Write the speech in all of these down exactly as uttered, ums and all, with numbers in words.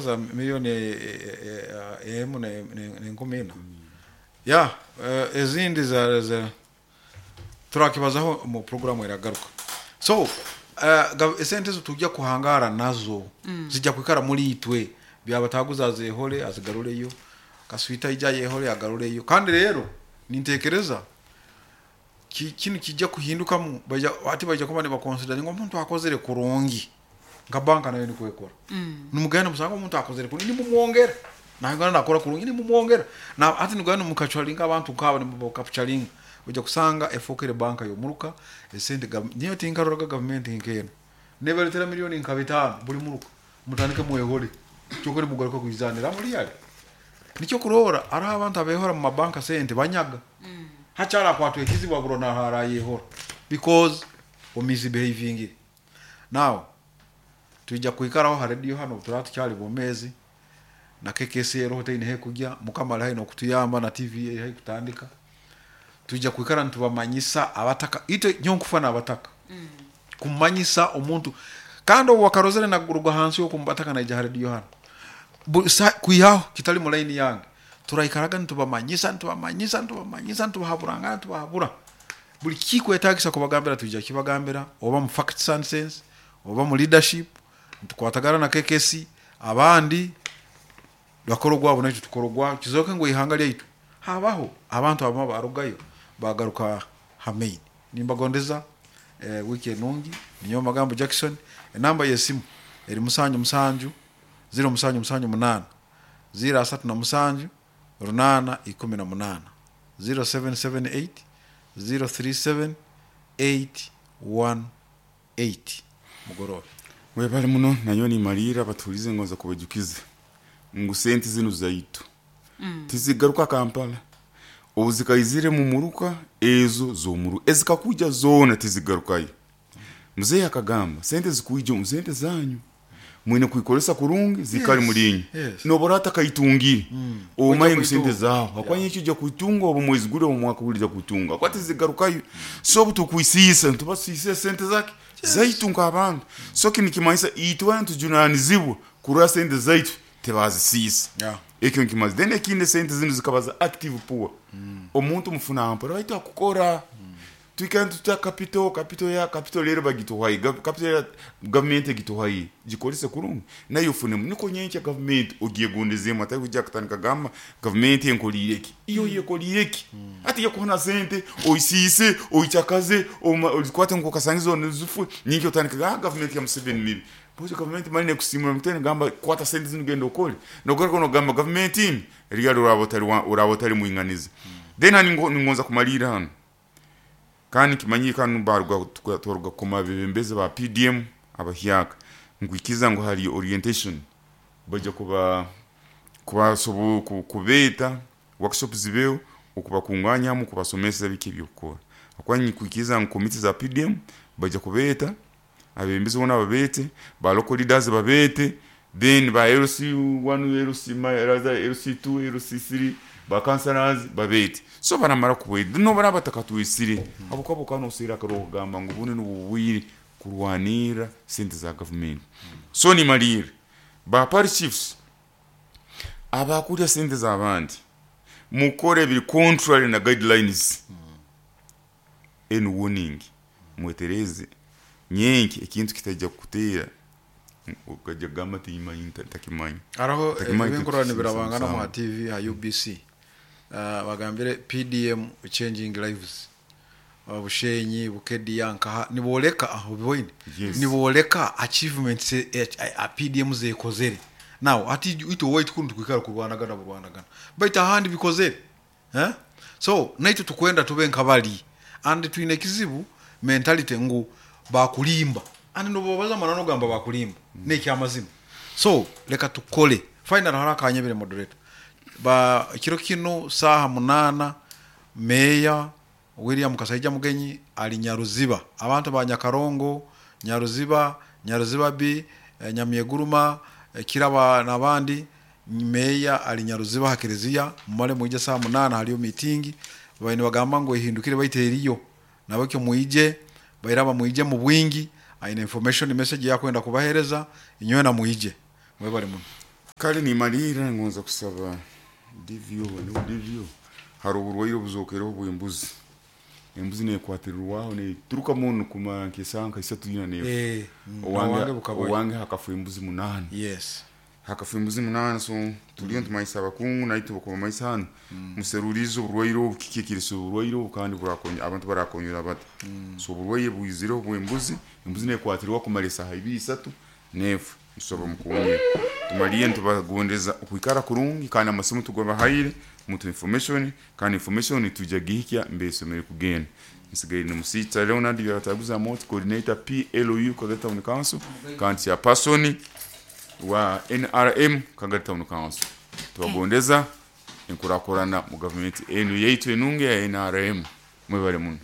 Za miliyoni e- e- e- emu ne- ne- nenkumi ina ya eh, ezindi za, za turakibazaho mu programu eragaruka. So uh, esente ezo tujja kuhangara nazo, zijja kwikara muri itwe. Byabataguza azehole, azigaruleyo. Kaswita ija yehole, agaruleyo. Kandi rero nintekereza ki- kinu kijja kuhindukamu. Baija ati baija kuba nibaconsidera ngo omuntu akozere kurungi, nka banka nayo nikwekora. Nimugenda musanga omuntu akozere kurungi, nimumwongera. Nayongera nakora kurungi, nimumwongera. Na ati nigenda mukacwalinga abantu nkaba nimubakapchalinga, ojja kusanga efokere banka yomuruka esente. gav- niyo tinkaroraga gavumenti nkeno nebaletera miliyoni nka bitaano buli muruka, mutandike mwehole kyokere mugaruka kuizanira muri yale. Nikyo kurora ariho abantu abehora mu mabanka sente banyaga, hacyarakwatwa ekizibu aburo naharayehora because omisbehaving. Now tujja kwikaraho ha radio hano turaba tukyali bomezi na K K C roho teine he kujya. Mukama ali haino okutuyamba na T V eri hai kutandika. Tujja kwikara nitubamanyisa abataka ite nyonkufana abataka kumanyisa omuntu kandi obu wakarozere naguruga hansi yokumbataka naija ha radio hano. Bu- sa- kwihaho kitali mu line yange. Turaikaraga nitubamanyisa, nitubamanyisa, nitubamanyisa, nitubahaburangana, nitubahabura buli kikwetagisa kubagambira, tuija kibagambira, oba mu facts and sense oba mu leadership. Nitukwatagana na K K C, abandi bakora ogwabo, naitwe tukora ogwabo. Kizoke ngu ihanga lyaitu habaho abantu abamwe barugayo bagaruka ha main. Nimbagondeza eh, wiki enungi. Ninyo magambo Jackson. Enamba yesimu eri musanju musanju ziro musanju musanju munana ziro asatu na musanju runana ikumi na munana, zero seven seven eight zero three seven eight one eight. Mugorobe. Webale muno. Nayo nimalira batulize ngoza kubajukiza ngu sente zino zaitu tizigaruka Kampala. Obu zikaizire mu muruka ezo z'omuru ezikakuja zoona tizigarukayo. Muzeeyi akagamba sente zikuija omu sente zanyu mwine kuikolesa kurungi zikali Yes, mulinyi. yes. Nobora atakayitungire, omaye ngu sente kuitunga. zaho akwanya ekyo ojja kuitunga obu mwezi guli, obu mwaka guli ojja kuitunga kwati zigarukayo. So obu tukwisiisa ntubasiisa sente zake zaitu nk'abantu. So kini kimanyisa itwe ntujunanizibwa kurora sente zaitu tebazisiisa. Yeah. Ekyo nkimaze. Then ekindi, sente zino zikaba za active poor. Omuntu mufuna mpora baitu akukora twikara tuta capital capital ya capital rero bagituhaye. Gav- capital ya gavumenti egituhaye gikolese kurungi nayo ufunemu niko nyenkya gavumenti ogyegondezemu, atari kujja kutandika gamba gavumenti enkolire eki, iyo yekolire eki. Ati yakuhana sente oisiise, oikyakaze, oma- ozikwate nkokasangizo nezifwe nyenkya otandika, "Ah, gavumenti ya Museveni mibi." Bozo gavumenti mali nekusimura mutene gamba kwata sente zino genda okole, nogaruka nogamba gavumenti mbi ryali uraba otari wa- uraba otari mwinganizi. Then hani ngo- ningonza kumalira hano kandi kimanyi kanu baruga twaruga koma abebembezi ba P D M abahyaka nkwikiza ngu hari orientation bajya kuba kubasobo ku- kubeeta workshop zibeho okubakunganyamu kubasomesa biki ebyokukora. Akwanyi kwikiza ngu komiti za P D M bajya kubeeta abebembezi bona babete, ba local leaders babete, then ba L C one, L C ma- L C two, L C three, ba councillors babete. So baramara kubweda no baraba batakatwisire abo kabo kano usira akaro kugamba ngu bune n'ububwire kurwanira sente za gavumenti. So nimalire ba parish chiefs abakulya sente z'abandi, mukore ebiri contrary na guidelines en warning. Mwetereze nyenki ekintu kitajja kukuteera ukajja kugamba timanyi ntakimanyi. Araho Takimanyi. ebinkorwa Tukusiisa nibirabangana mu musango. T V ha U B C. uh, bagambire P D M changing lives. uh, bushenyi Bukediya nkaha niboleka aho biboine. Yes. Niboleka achievements eh, eh, a P D M zekozere. Now ati ito wait kuntu kwikara kurwanagana burwanagana baitu ahandi bikozere, eh? So naitwe tukwenda tube nkabali and twine ekizibu mentality ngu bakulimba and nobobaza mana nogamba bakulimba mm. nekyamazima. So leka tukole. Final haraka anyebere moderator ba kiro kino saha munana Meya William Kasaija Mugenyi ali Nyaruziba. Abantu ba Nyakarongo, Nyaruziba, Nyaruziba B, eh, Nyamyeguruma, eh, Kiraba n'abandi, meya ali Nyaruziba ha kereziya. Mumale mwije saa munana, haliyo meeting. Baine bagamba ngo ihindukire baiteriyo nabakyo mwije bairaba mwije mu bwingi. Aine information message yakwenda kubahereza inywe na mwije. Mwebale muno. Kale nimalira ngonza kusaba D V O, niho D V O hari oburwaire obuzokereho bw'embuzi. Embuzi nekwatirirwaho neturuka muno kumara nk'esaaha nka isatu ina nefa. Eh, mm, owange owange bukabayo. Owange hakafa embuzi munaana. Yes. Hakafa embuzi munaana, so turiyo ntumanyisa abakungu naitwe bakubamanyisa hanu, muserurize oburwaire obu, kiki ekirisa oburwaire obu, kandi burakonya abantu barakonyera bata. So oburwaire bwizireho bw'embuzi, embuzi nekwatirwa kumara esaaha ibiri isatu nefa. Tusaba mukonyere. Tumaliye ntubagondeza okwikara kurungi, kandi amasimu tugabahaire mutu information, kandi information tujja gihikya mbesomere kugenda. Nsigaire ni Musita Leonard Byabataguza Moti, coordinator P L U Kagari Town Council, kandi chairperson wa N R M Kagari Town Council. Tubagondeza enkurakurana mu gavumenti enu yaitu enunge ya N R M. Mwebale muno.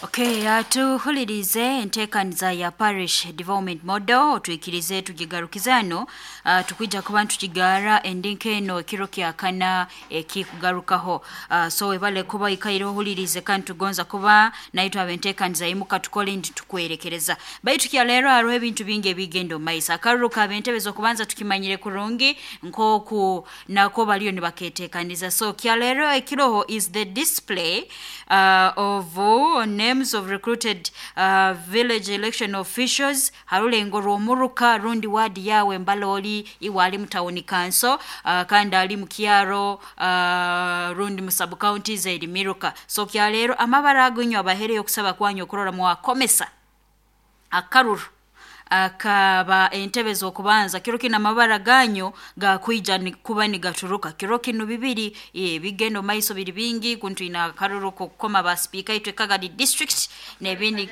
Okay, uh, tuhulirize enteekaniza ya parish development model, twikirize tugigarukize hano. uh, tukwija kuba ntukigara endinka eno ekiro kyakana ekikugarukaho. uh, so webale kuba ikaire ohulirize, kandi tugonza kuba naitwe abenteekaniza imuka tukole nti tukwerekereza. Baitu kya leero hariho ebintu bingi ebigenda omu maiso. Akaruru kabentebe z'okubanza tukimanyire kurungi nk'oku nako baliyo nibaketeekaniza. So kya leero ekiroho is the display uh, of uh, names of recruited uh, village election officials. Harulengo rw'omuruka rundi wadi yawe mbaloli iwe ali mu town council, uh, kandi ali mu kyaro, uh, rundi mu sub counties eri miruka. So kya leero amabara agonyo abahereyo okusaba kwanyu okurora mwakomesa akaruru akaba entebe z'okubanza. Kiro kino amabara ganyu gakwija ni- kuba nigaturuka kiro kino bibiri. eh, bigenda omu maiso biri bingi kuntu ina akaruru kokukoma ba speaker itwe Kagadi district n'ebindi.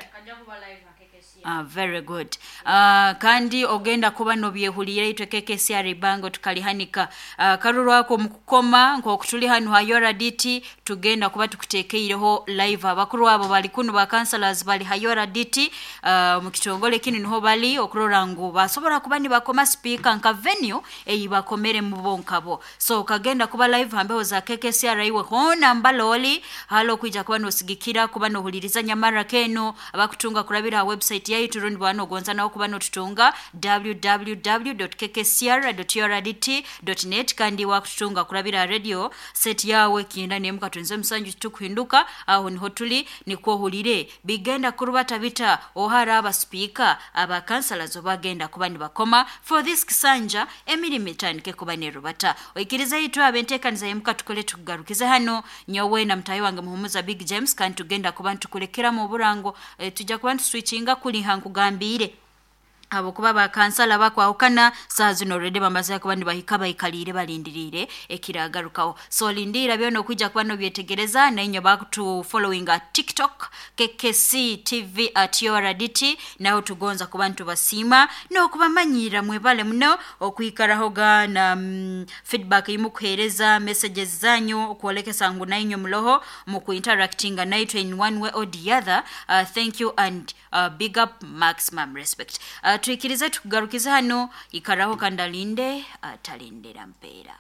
Ah, very good. uh, kandi ogenda kuba nobyehulira itwe K K C R ibango tukalihanika uh, karuru ako mukukoma nk'oku tuli hanu ha U R D T, tugenda kuba tukutekeireho live. Abakuru abo bali kuno, ba councillors bali ha U R D T, uh, mu kitongole kinu niho bali okurora ngu basobora kuba nibakoma speaker nka venue eyi bakomere mu bonkabo. So kagenda kuba live hambeho za K K C R. Iwe hona mbaloli halo kwija kuba nosigikira kuba nohuliriza nyamara keno abakutunga kurabira ha website yaitu, rundi bwana ogonza nawo kuba notutunga w w w dot k k c r dot u r d t dot net, kandi wakututunga kurabira ha radio set yawe kinda nemu katunze musanju tukuhinduka. Aho niho tuli nikwo ohulire bigenda kurubata bita ohara aba speaker aba councillors obagenda kuba nibakoma for this kisanja emirimu etandike kuba nerubata. Oikirize itwe abenteekaniza yemuka tukole tukugarukize hano, nyowe na mutayi wange Muhumuza Big James, kandi tugenda kuba ntukulekeramu oburango. e, tujja kuba ntuswitchinga kuliha nkugambire abo kuba bakansala bakwahukana saa zino already bamaze kuba nibahika baikaliire balindiriire ekiragarukaho. So lindira byona okwijja kuba nobyetegereza. Nainyo bakutu following at TikTok K K C T V at U R D T, naho tugonza kuba ntubasiima n'okubamanyira. Mwebale muno okwikarahoga na mm, feedback imukuheereza messages zanyu okwolekesa ngu nainyo muloho mukuinteractinga naitwe in one way or the other. uh, thank you and uh, big up, maximum respect. uh, twikirize tukugarukize hano. Ikaraho kandi alinde atalindira mpeera.